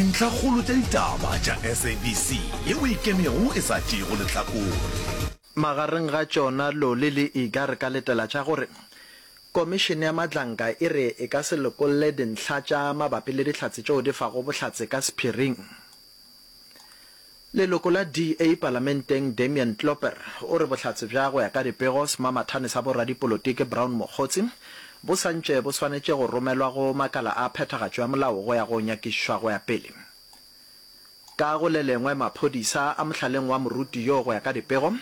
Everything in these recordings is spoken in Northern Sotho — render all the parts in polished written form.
Dintlhakgolo tša ditaba tša SABC yeo e ikemego e sa tšeego lehlakore. Magareng ga tšona Loli le Iga re ka letela tša gore Komišene ya Madlanka e re e ka se lokolle dintlha tša mabapi le dihlatse tšeo di fago bohlatse ka sephiring. Leloko la DA palamenteng Damian Klopper o re bohlatse bja go ya ka dipego semamathane sa boradipolotiki Brown Mogotsi bo sa ntše bo swanetše go romelwa go makala a phethagatšo ya molao go ya go nyakišišwa go ya pele. Ka go le lengwe maphodisa a mohlaleng wa moruti yo go ya ka dipego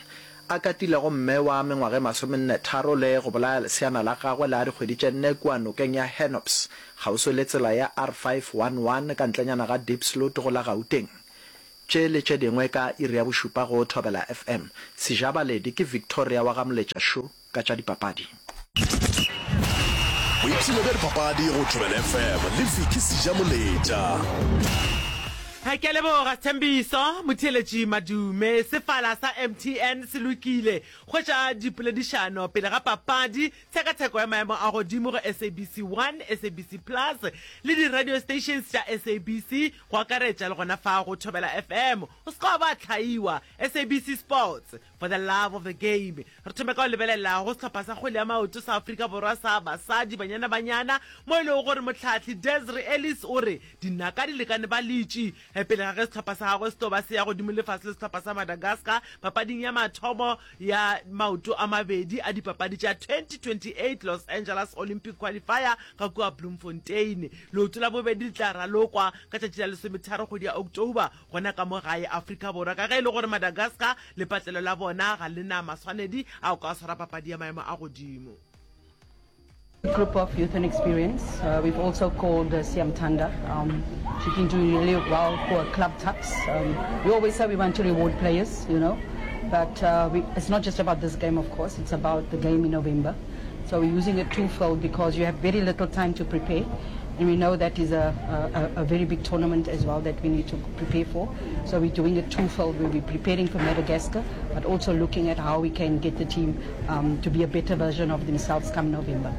a katilego mme wa mengwaga e masomennetharo le go bolaya leseana la gagwe la dikgwedi tše nne kua nokeng ya Hennops kgauswi le tsela ya R511 ka ntlenyana ga Diepsloot go la Gauteng. Tše le tše dingwe ka iri ya bošupa go Thobela FM. Sejabaledi ke Victoria wa ga Moletša Shu ka tša dipapadi. Boipshino bja dipapadi go Thobela FM le Vicky Sejamoletša. Ke a leboga Sthembiso Motheeletši Madume. Sefala sa MTN se lokile. Hwetša dipoledišano pele ga papadi, tshekatsheko ya maemo a godimo go SABC 1, SABC Plus le di-radio stations tša SABC go akaretša le gona fa go Thobela FM. O se ka wa ba hlaiwa. SABC Sports, for the love of the game. Re thome ka go lebelela go sehlopha sa kgwele ya maoto sa Afrika Borwa sa basadi, Banyana Banyana, mo e lego gore mohlahli Desiree Ellis o re dinaka di lekane ba letše pele ga ge sehlopha sa gagwe se tlo ba se ya godimo le fase le sehlopha sa Madagascar papading ya mathomo ya maoto a mabedi a dipapadi tša 2028 Los Angeles Olympic Qualifier ka kua Bloemfontein. Leoto la bobedi le tla ralokwa ka tšatši la lesometharo kgwedi ya October gona ka mo gae Afrika Borwa ka ge e le gore Madagascar lepatlelo la bona ga le na maswanedi a go ka swara papadi ya maemo a godimo. Group of youth and experience. Uh, we've also called uh, Siam Tanda. Um, she's been doing really well for club tucks. Um, we always say we want to reward players, you know, but uh, we, it's not just about this game, of course. It's about the game in November. So we're using it twofold because you have very little time to prepare. And we know that is a, a, a very big tournament as well that we need to prepare for. So we're doing it twofold. We'll be preparing for Madagascar, but also looking at how we can get the team um, to be a better version of themselves come November.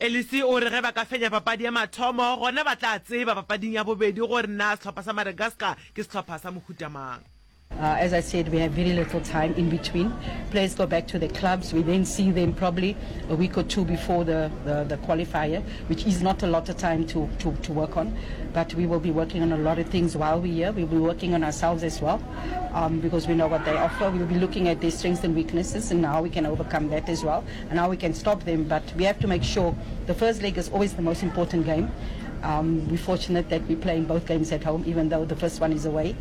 Elise o re ge ba ka fenya papadi ya mathomo, gona ba tla tseba papading ya bobedi gore na sehlopha sa Madagascar ke sehlopha sa mohuta mang. Uh, as I said, we have very little time in between. Players go back to their clubs. We then see them probably a week or two before the, the, the qualifier, which is not a lot of time to, to, to work on. But we will be working on a lot of things while we're here. We'll be working on ourselves as well um, because we know what they offer. We'll be looking at their strengths and weaknesses and how we can overcome that as well and how we can stop them. But we have to make sure the first leg is always the most important game. Um, we're fortunate that we're playing both games at home, even though the first one is away.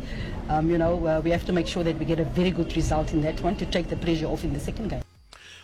Um, you know, uh, we have to make sure that we get a very good result in that one to take the pressure off in the second game.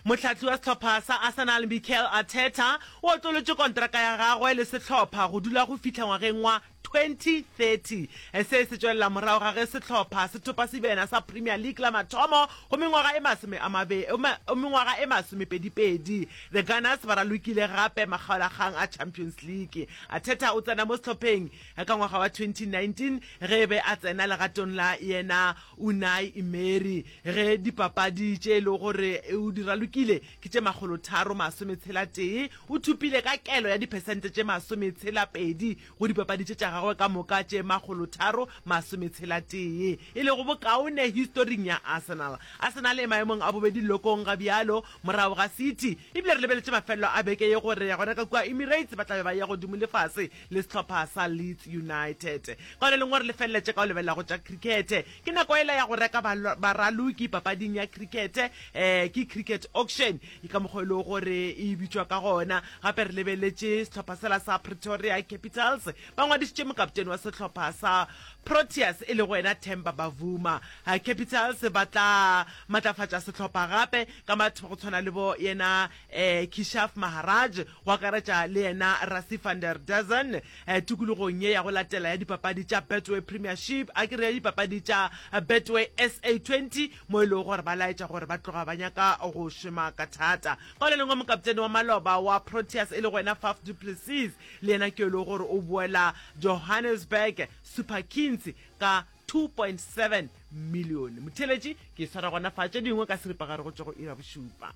Mohlahli wa sehlopha sa Arsenal Mikel Arteta o otlolotše kontraka ya gagwe le sehlopha go dula go fihla ngwageng wa 2030. Se se tšwelela morago ga ge sehlopha se thopa sebjana sa Premier League la mathomo go mengwaga e masome a mabe, mengwaga e masomepedipedi. The Gunners ba ralokile gape makgaolakgang a Champions League. Arteta o tsena mo sehlopheng ka ngwaga wa 2019 ge e be a tsena legatong la yena Unai Emery ge dipapadi tše e lego gore o di ralokile ke tše makgolotharo masometshela-tee. O thopile ka kelo ya diphesente tše masometshela-pedi go dipapadi tše tša gagwe ka moka tše makgolotharo masometshela-tee, e lego bokaone historing ya Arsenal. Arsenal e maemong a bobedi lelokong ga bjalo morago ga City, ebile re lebeletše mafelelo a beke ye gore gona ka kua Emirates ba tla be ba eya godimo le fase le sehlopha sa Leeds United. Ka le lengwe re le feleletše ka go lebelela go tša krikete. Ke nako yela ya go reka baraloki papading ya krikete, um ke cricket auction ka mokgwa e lego gore e bitšwa ka gona. Gape re lebeletše sehlopha sela sa Pretoria Capitals, ba ngwadišitše mokaptene wa sehlopha sa Proteas e lego yena Themba Bavuma. Capitals ba tla matlafatša sehlopha gape ka batho ba go tshwana le bo yena um Keshav Maharaj, go akaretša le yena Rassie van der Dussen tikologong ye ya go latela ya dipapadi tša Betway Premiership, a ke re ya dipapadi tša Betway SA 20, mo e lego gore ba laetša gore ba tloga ba nyaka go šoma ka thata. Ka le lengwe, mokaptene wa maloba wa Proteas e lego yena Faf du Plessis le yena ke yo e lego gore o boela Johannesburg Super Kings ka 2.7 milione. Motheeletši, ke swara gona fa tše dingwe ka seripagare go tšwa go iri ya bošupa.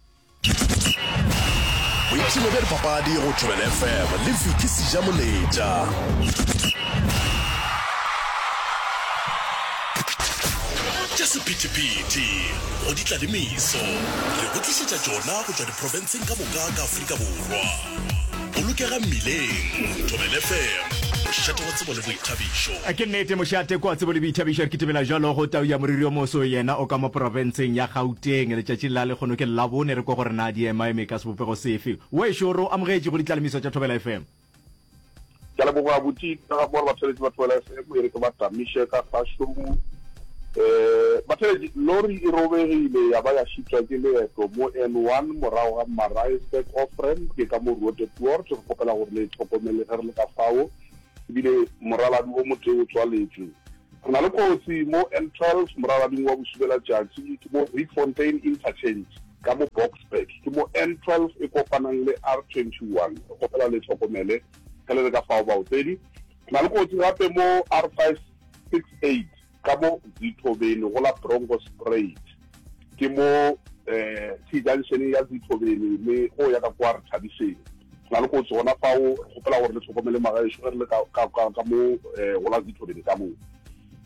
Boipshino bja dipapadi go Thobela FM le Vicky Sejamoletša. sephethephethe, go di tla le meso. Re go tlišetša tšona go tšwa diprofenseng ka moka ka Afrika Borwa. Bolokega mmileng. Thobela FM, mošate wa tsebo le boithabišo. Ke nnete, mošate kwa tsebo le boithabišo. Re kitimela bjalo go tau ya moriri o moso, yena o ka mo profenseng ya Gauteng. Letšatšing la lekgono ke Labone, re kwe gore na di emaeme ka sebopego sefe. Wešo, re o amogetše go ditlalemiso tša Thobela FM. Ke a leboga abuti ka ga gore batheletši ba Thobela FM e re ke ba tamiše ka kgašong. Um batheletši, lori e robegile ya ba ya šitwa ke leeto mo N1 morago ga Maritzburg off-ramp ke ka mo Roodepoort. Re kgopela gore le e hlokomele ge re le ka fao, ebile moraladi o motee o tswaletšwe. Re na le kotsi mo N12 moralading wa bosubelatšatši ke mo Rietfontein Interchange ka mo Boksburg. Ke mo N12 e kopanang le R21. Re kgopela le hlokomele ge le le ka fao baotledi. Re na le kotsi gape mo R568 ka mo Zithobeni go la Bronkhorstspruit. Ke mo T-junction ya Zithobeni le go ya ka kwa Rethabiseng. Re na le kotsi gona fao, re kgopela gore le hlokomele magaešo ge re le ka, ka, ka, ka mo go la Zithobeni ka mo.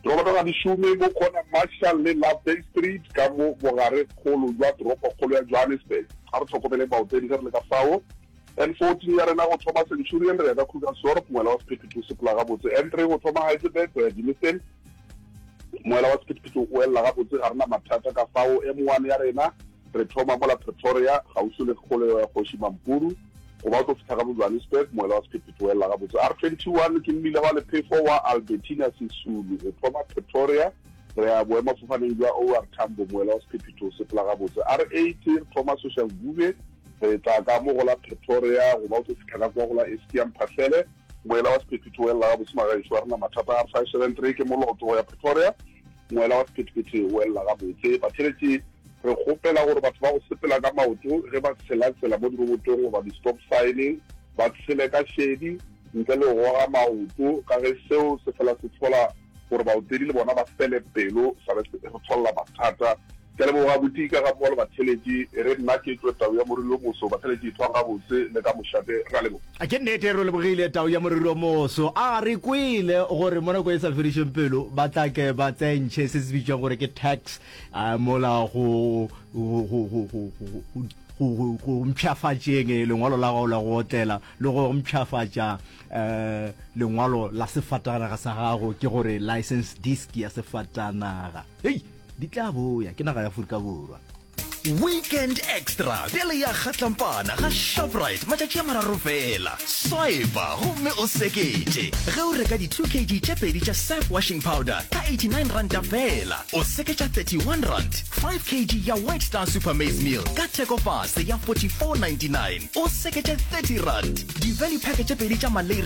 Diroboto ga di šome mo corner Marshall le Loveday Street ka mo bogare kgolo jwa toropokgolo ya Johannesburg. A re hlokomeleng baotledi ge re le ka fao. N14 ya rena go thoma Centurion re ya ka Krugersdorp, moela wa sephethephethe o sepela gabotse. N3 go thoma Heidelberg go ya Germiston, moela wa sephethephethe o elela gabotse, ga re na mathata ka fao. M1 ya rena re thoma mola Pretoria kgauswi le kgolego ya Kgoši Mampuru go ba o tlo fihla ka bo Johannesburg, moela wa sephethephethe o elela gabotse. R21 ke mmila wa lephefo wa Albertina Sisulu go thoma Pretoria re ya boemafofaneng bja OR Tambo, moela wa sephethephethe o sepela gabotse. R80 re thoma Soshanguve Re tla ka mo go la Pretoria go ba o tlo fihla ka kwa go la Eskia Mphahlele. Moela wa sephethephethe o elela gabotse magaešo a rena mathata. R573 ke moloto go ya Pretoria. Moela wa sephethephethe o elela gabotse. Batheeletši, re kgopela gore batho ba go sepela ka maoto ge ba tshela tsela mo dirobotong goba di-stop sign ba tshele ka šedi ntle le go goga maoto ka ge seo se fela se hlola gore baotledi le bona ba fele pelo sa be re hlolela mathata. Ke a leboga abuti ka gammogo le batheletši. E re nna ke tšwe Tau ya Moriri o Moso. Batheletši ithwang gabotse le ka mošate. Re a leboga. Ke nnete re lebogile Tau ya Moriri o Moso. A re kwele gore mo nako e sa fedišeng pelo ba tla ke ba tsentšhe se se bitšwang gore ke tax mola go go go go go go go mpshafatšeng lengwalo la gago la go otlela le go mpshafatša um lengwalo la sefatanaga sa gago ke gore license disc ya sefatanaga. Hei! Di tla boya ke naga ya Afrika Borwa. Weekend Extra bjale ya kgatlampana ga Shoprite matšatši a mararo fela. Swipa gomme o seketše ge o reka di 2 kg tše pedi tša Surf washing powder ka 89 ranta fela, o seketša 31 rand. 5 kg ya White Star Super Maize Meal ka theko fase ya 44.99, o seketše 30 rand. Di-value pack tše pedi tša Malay.